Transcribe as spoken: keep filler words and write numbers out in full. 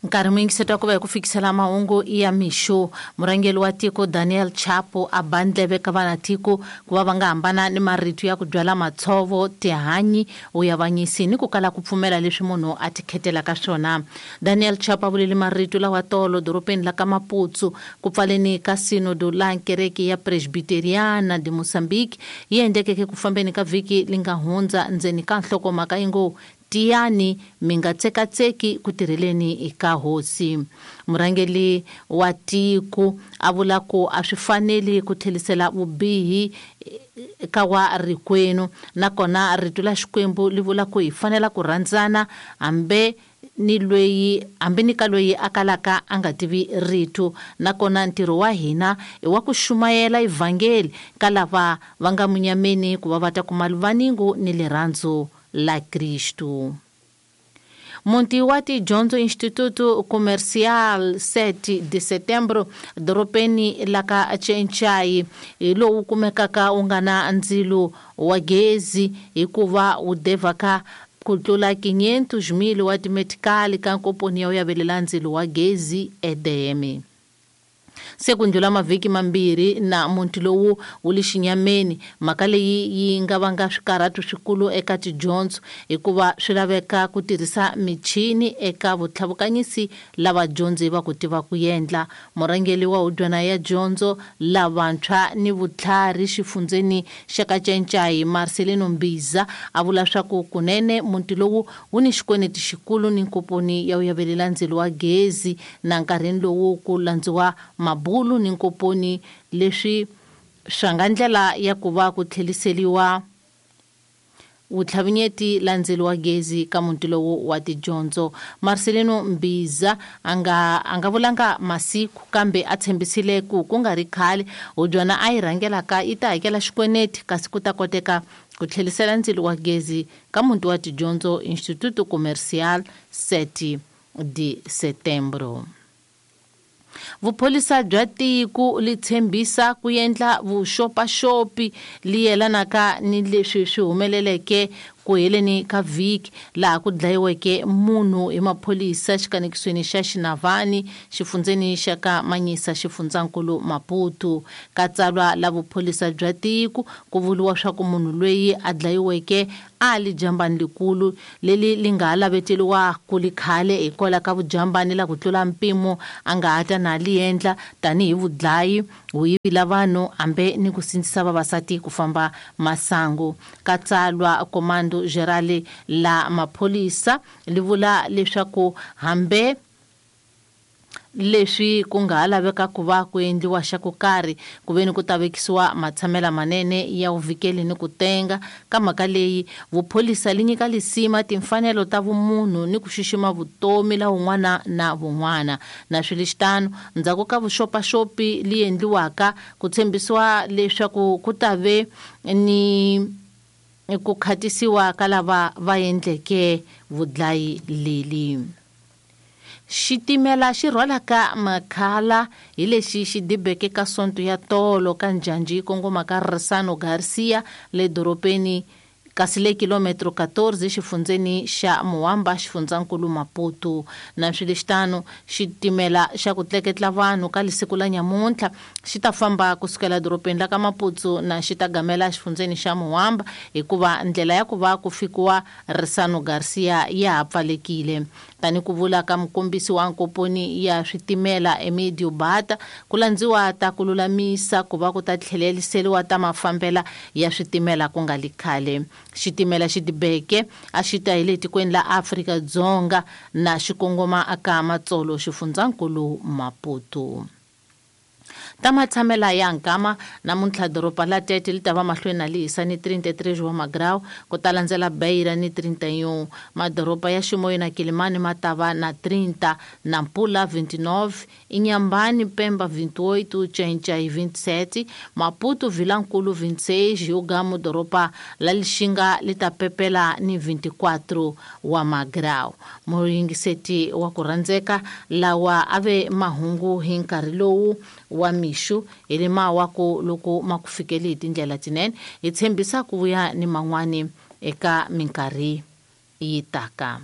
Nkarhi muyingiseti wa ku va hi ku fikisela mahungu ya mixo. Murhangeri wa tiko Daniel Chapo a ba ndleve ka vanatiko ku va va nga hambana ni marito ya ku byala matshovo, tihanyi, vuyavanyisi ni ku kala ku pfumela leswi munhu a tikhetelaka swona. Daniel Chapo a vulele marito lawa tolo doropeni la ka Maputo ku pfaleni ka sinodo la kereke ya Presbiteriana de Mozambique yi endlekeke ku fambeni ka vhiki li nga hundza ndzeni ka nhlokomhaka yi ngo tiyani mi nga tsekatseki ku tirheleni eka hosi. Murhangeri wa tiko a vula ku a swi faneli ku tlhelisela vubihi ka wa rikwenu, nakona rito la Xikwembu li vula ku hi fanela ku rhandzana hambi ni loyi hambi ni ka loyi a kalaka a nga tivi rito, nakona ntirho wa hina i wa ku xumayela evhangeli ka lava va nga munyameni ku va va ta kuma luvaningu ni rirhandzu la Cristo. Muti wa tidyondzo Instituto Comercial sete de Setembro doropeni la ka Chenchai hi lowu kumekaka wu nga na ndzilo wa gezi hikuva wu devaka ku tlula quinhentos mil wa timetikali ka nkomponi ya u yavelela ndzilo wa gezi E D M. Se ku ndlula mavhiki mambirhi na muti lowu wu le xinyameni, mhaka leyi yi nga vanga swikarhato swikulu eka tidyondzo hikuva swi laveka ku tirhisa michini eka vutlhavukanyisi lava dyondzi va ku tiva ku endla. Murhangeri wa hudyana ya dyondzo lavantshwa ni vutlhari xifundzeni xa ka Chenchai Marcelino Mbiza a vula swa ku kunene muti lowu wu ni xikweneti xikulu ni nkomponi ya u yavelela ndzilo wa gezi na nkarhini lowu ku landziwa mabulu ni nkoponi leswi swa nga ndlela ya ku va ku tlheliseriwa vutlhavinyeti la ndzilo wa gezi ka muti lowu wa tidyondzo. Marcelino Mbiza a nga a nga vulanga masiku kambe a tshembisile ku ku nga ri khale hudyana a yi rhangelaka yi ta hakela xikweneti kasi ku ta koteka ku tlhelisela ndzilo wa gezi ka muti wa tidyondzo Instituto Comercial sete de Setembro. Vupholisa bya tiko li tshembisa ku endla vuxopaxopi li yelanaka ni leswi swi humeleleke ku heleni ka vhiki laha ku dlayiweke munhu hi maphorisa xikanekisweni xa Xinavani xifundzeni xa ka Manyisa xifundzankulu Maputo. Ka tsalwa la vupholisa bya tiko ku vuriwa swa ku munhu loyi a dlayiweke a li jambani likulu leli li nga ha laveteriwa ku li khale hikwalaho ka vujambani la ku tlula mpimo a nga ha ta na li endla tanihi vudlayi, vuyivi la vanhu hambi ni ku sindzisa vavasati ku famba masangu. Ka tsalwa komando Gerale la mapholisa li vula leswaku hambi leswi ku nga ha laveka ku va ku endliwa xa ku karhi ku ve ni ku ta vekisiwa matshamela manene ya vuvikeli ni ku tenga ka mhaka leyi, vupholisa li nyika lisima timfanelo ta vumunhu ni ku xixima vutomi la wun'wana na vun'wana. Na swilixitano ndzhaku ka vuxopaxopi li endliwaka ku tshembisiwa leswaku ku ta ve ni ku khatisiwa ka lava va endleke vudlayi leli. Xitimela xi rhwalaka makhala hi lexi xi dibeke ka sonto ya tolo ka njhanji yi kongoma ka Risano Garcia le doropeni kasi le kilometro quatorze xifundzeni xa Muwamba xifundzankulu Maputo. Na swilixitano xitimela xa ku tleketla vanhu ka lisiku la nyamuntlha xi ta famba kusukela doropeni la ka Maputo na xi ta gamela xifundzeni xa Muwamba hikuva ndlela ya ku va ku fikiwa Risano Garcia ya ha pfalekile. Tani ku vula ka mukombisi wa nkomponi ya switimela Emidio Bata ku landziwa ta ku lulamisa ku va ku ta tlheleliseriwa ta mafambela ya switimela ku nga li khale. Xitimela xi dibeke a xi ta hi le tikweni la Afrika-Dzonga na xikongoma aka Matsolo xifundzankulu Maputo. Ta matshamela ya nkama namuntlha doroba la Tete li ta va mahlweni na li hisa ni trinta e três wa magrau ku ta landzela Beira ni trinta e um. Madoroba ya Chimoio na Quelimane ma ta va na trinta, Nampula vinte e nove, Inhambane, Pemba vinte e oito, Chenchai vinte e sete, Maputo, Vilankulo vinte e seis, Ugamo doroba la Lixinga li ta pepela ni vinte e quatro wa magrau. Muyingiseti wa ku rhandzeka lawa a ve mahungu hi nkarhi lowu wa mixo hi le mawaku loko ma ku fikeli hi tindlela tinene, hi tshembisa ku vuya ni man'wani eka minkarhi yi taka.